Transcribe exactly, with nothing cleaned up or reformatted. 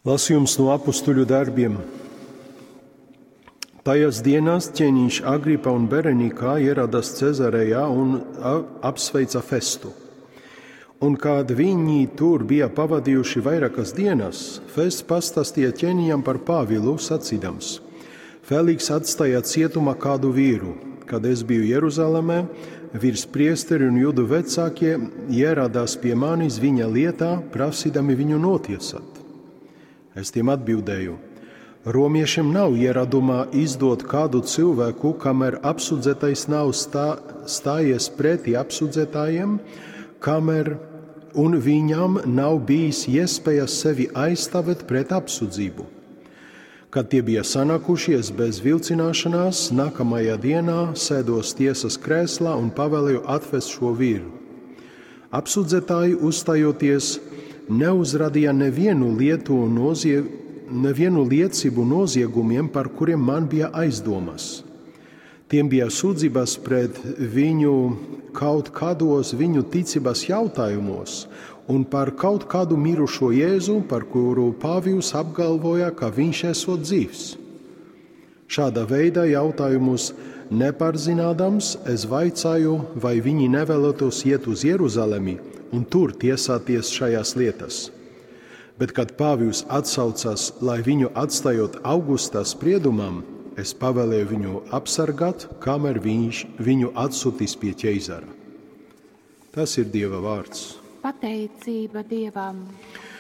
Lasījums no apustuļu darbiem. Tajās dienās ķēniņš Agripa un Berenikā ieradās Cezarejā un apsveica Festu. Un kad viņi tur bija pavadījuši vairākas dienas, Fests pastāstīja ķēniņam par Pāvilu, sacīdams: Feliks atstāja cietumā kādu vīru. Kad es biju Jeruzalemē, virspriesteri un jūdu vecākie ieradās pie manis viņa lietā, prasīdami viņu notiesāt. Es tiem atbildēju: Romiešiem nav ieradumā izdot kādu cilvēku, kamēr apsūdzētais nav stā, stājies pretī apsūdzētājiem, kamēr un viņam nav bijis iespēja sevi aizstāvēt pret apsūdzību. Kad tie bija sanākušies bez vilcināšanās, nākamajā dienā sēdos tiesas krēslā un pavēlēju atvest šo vīru. Apsūdzētāji uzstājoties neuzrādīja nevienu lietu nozie, nevienu liecību noziegumiem, par kuriem man bija aizdomas. Tiem bija sūdzības pret viņu kaut kādos viņu ticības jautājumos un par kaut kādu mirušo Jēzu, par kuru Pāvils apgalvoja, ka viņš esot dzīvs. Šāda veida jautājumus nepārzinādams, es vaicāju, vai viņi nevēlētos iet uz Jeruzalemi un tur tiesāties šajās lietas. Bet, kad Pāvils atsaucās, lai viņu atstājot Augusta spriedumam, es pavēlēju viņu apsargāt, kamēr viņš viņu atsūtīs pie ķeizara. Tas ir Dieva vārds. Pateicība Dievam!